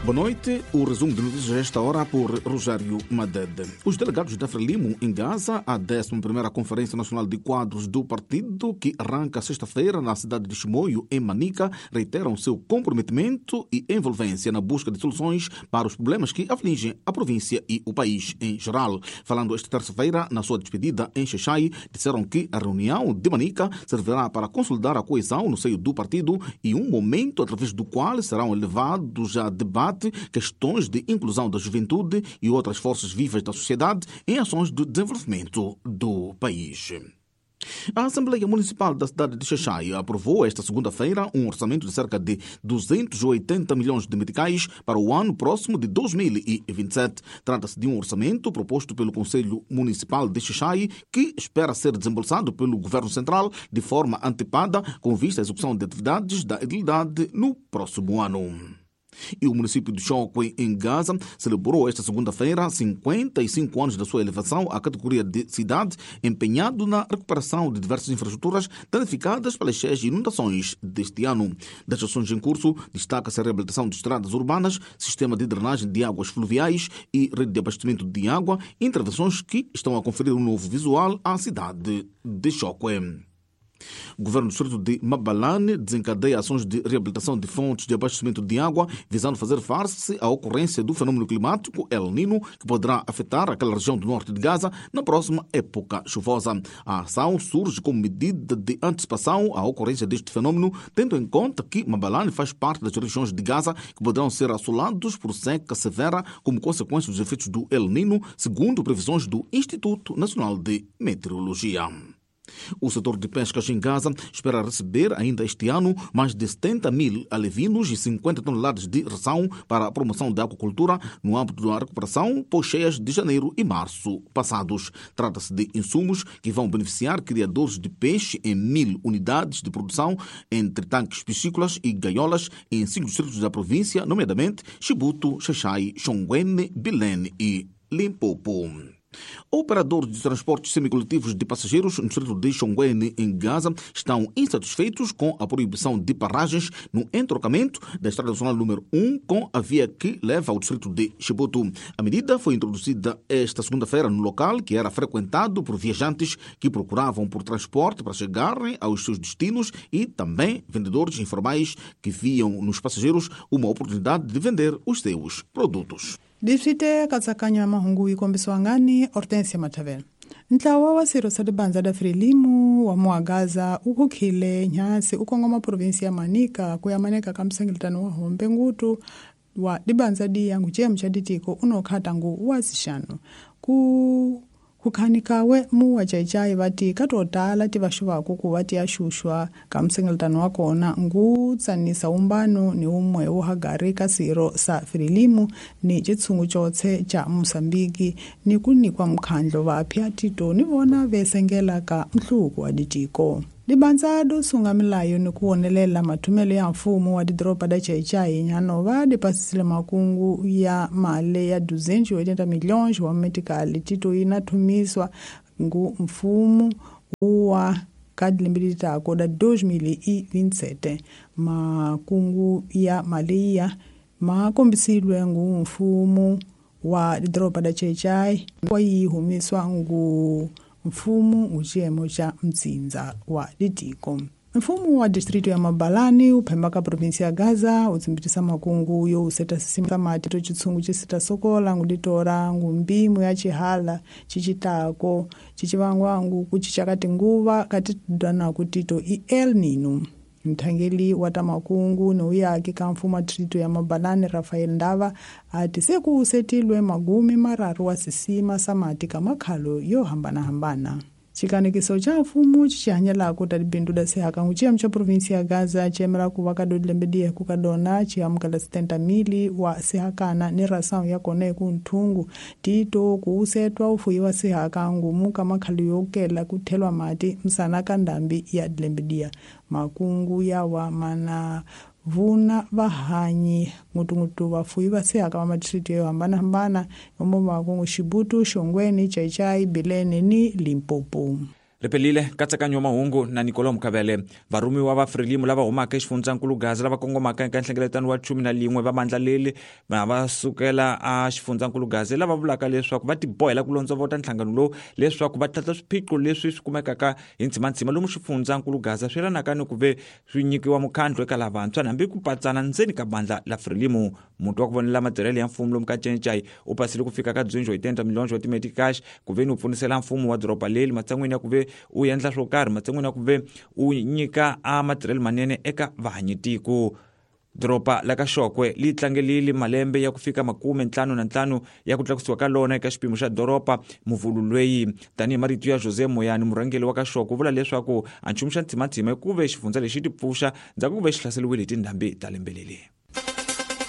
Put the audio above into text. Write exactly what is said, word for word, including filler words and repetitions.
Boa noite. O resumo de notícias a esta hora por Rogério Madede. Os delegados da Frelimo em Gaza, a décima primeira Conferência Nacional de Quadros do Partido, que arranca sexta-feira na cidade de Chimoio, em Manica, reiteram seu comprometimento e envolvência na busca de soluções para os problemas que afligem a província e o país em geral. Falando esta terça-feira, na sua despedida em Xexai, disseram que a reunião de Manica servirá para consolidar a coesão no seio do partido e um momento através do qual serão levados a debate questões de inclusão da juventude e outras forças vivas da sociedade em ações de desenvolvimento do país. A Assembleia Municipal da cidade de Xexai aprovou esta segunda-feira um orçamento de cerca de duzentos e oitenta milhões de meticais para o ano próximo de dois mil e vinte e sete. Trata-se de um orçamento proposto pelo Conselho Municipal de Xexai, que espera ser desembolsado pelo Governo Central de forma antecipada, com vista à execução de atividades da edilidade no próximo ano. E o município de Chókwè, em Gaza, celebrou esta segunda-feira cinquenta e cinco anos da sua elevação à categoria de cidade, empenhado na recuperação de diversas infraestruturas danificadas pelas cheias e inundações deste ano. Das ações em curso, destaca-se a reabilitação de estradas urbanas, sistema de drenagem de águas fluviais e rede de abastecimento de água, intervenções que estão a conferir um novo visual à cidade de Chókwè. O governo do distrito de Mabalane desencadeia ações de reabilitação de fontes de abastecimento de água, visando fazer face à ocorrência do fenômeno climático El Nino, que poderá afetar aquela região do norte de Gaza na próxima época chuvosa. A ação surge como medida de antecipação à ocorrência deste fenômeno, tendo em conta que Mabalane faz parte das regiões de Gaza que poderão ser assolados por seca severa como consequência dos efeitos do El Nino, segundo previsões do Instituto Nacional de Meteorologia. O setor de pescas em Gaza espera receber ainda este ano mais de setenta mil alevinos e cinquenta toneladas de ração para a promoção da aquacultura no âmbito da recuperação pós-cheias de janeiro e março passados. Trata-se de insumos que vão beneficiar criadores de peixe em mil unidades de produção entre tanques piscícolas e gaiolas em cinco distritos da província, nomeadamente Chibuto, Xaxai, Xonguene, Bilene e Limpopo. Operadores de transportes semicoletivos de passageiros no distrito de Xonguene, em Gaza, estão insatisfeitos com a proibição de paragens no entrocamento da Estrada Nacional número um com a via que leva ao distrito de Chibuto. A medida foi introduzida esta segunda-feira no local que era frequentado por viajantes que procuravam por transporte para chegarem aos seus destinos e também vendedores informais que viam nos passageiros uma oportunidade de vender os seus produtos. Distrite katsakanya ya mahungu yi kombisiwa ngani Hortensia Matavela. Ntlawa wa swirho swa libandla la Frelimo wa Muagaza wu khukhile nyasi u kongoma provinsi ya Manica ku ya maneka ka msengeletano wa hombe ngutu wa libandla diya nguciyemu xa ditiko unokhata ngu wa sixanu ku kukhanikawe mu wa Xai-Xai vati ka to tala ti vaxuvaku ku va ti ya xuxwa ka msengeletano wa kona ngu tsanisa umbano ni umwe wo hagari ka siro sa Frelimo ni xitshungu xotse xa Mosambiki ni ku nikwa mukhandlo va phya tito ni vona vesengela ka nhluvuko wa ditiko. Libandla do sunga milayo ni ku wonelela mathumelo ya mfumo wa didoroba da Xai-Xai Nyanova di pasisile makungu ya mali ya duzentos e oitenta milhões wa metikali tito yi na thumiswa ngu mfumo wa ka lembe litako da dois mil e vinte e sete. Makungu ya mali ya ma kombisilwe ngu mfumo wa didoroba da Xai-Xai wa yi humiswa ngu mfumo uciyemo xa mtsindza wa ditiko. Mfumo wa distrito ya Mabalani wu phemba ka provinsi ya Gaza wu tsimbitisa makungu yo useta sisima mati to xitshungu xi sokola ngu ditora ngu mbimu ya xihala xicitako xicivangwa ngu ku cinca ka tinguva ka titwanaku tito i El Nino. Mthangeli wa ta makungu ni uyaki ka mfumo wa distrito ya Mabalani Rafael Ndava ati se ku usetilwe magumi mararu wa sisima sa mati ka makhalo yo hambanahambana. Xikanekiso xa mfumo xi hanyelaka ta tibindzu da sehaka ngu xiyemu xa provinsi ya Gaza xi yimela ku va ka lembe diya ku ka dona xi amukela setenta mili wa sehakana ni rasawu ya kona hi ku nthungu tito ku usetwa u fuyiwa sehaka ngumu ka makhalo yo kela ku thelwa mati msana ka ndhambi ya lembe diya. Makungu ya wa mana vuna vahanyi ngutungutu vafuyi va sehaka va madistrito yo hambanahambana yomo makungu Xibutu, Xongweni, Xai-Xai, Bilene ni Limpopo. Ripelile nkatsakanyo wa mahungu na Nicolau Mukavele. Varhumiwa va Frelimo lava humaka exifundzhankulu Gaza lava kongomaka eka nhlengeletano wa chumi na lin'we va vandla leri va va sukela a xifundzankulu Gaza lava vulaka leswaku va tibohela ku londzovota nhlangano lowu leswaku va tlhantlha swiphiqo leswi swi kumekaka hi ndzimandzi lomu xifundzankulu Gaza swi yelanaka ni ku ve swi nyikiwa mukhandlu eka lavantshwa hambi ku patsana ndzeni ka bandla la Frelimo. Muti wa ku vonela matirhelo ya mfumo lomu ka Cencai u pasile ku fika ka dzunjo hi tenda milonjo wa timedicash ku ve ni u pfunisela mfumo wa doroba leri matshan'wini ya ku ve u endla swo karhi matshan'wini ya ku ve u nyika a matirhelo manene eka vahanyitiko. Doroba la ka Xokwe li tlangelile malembe ya ku fika makume ntlhanu na ntlhanu ya ku tlakusiwa ka lona eka xipimo xa doroba muvulu lweyi. Tanihi marito ya Jose Moyani, murhangeri wa ka Xokwe, u vula leswaku a nchumu xa ntsimantsima i ku ve xifundza lexi ti pfuxa ndzhaku ku ve xi hlaseriwile hi tindhambi ta lembe leri.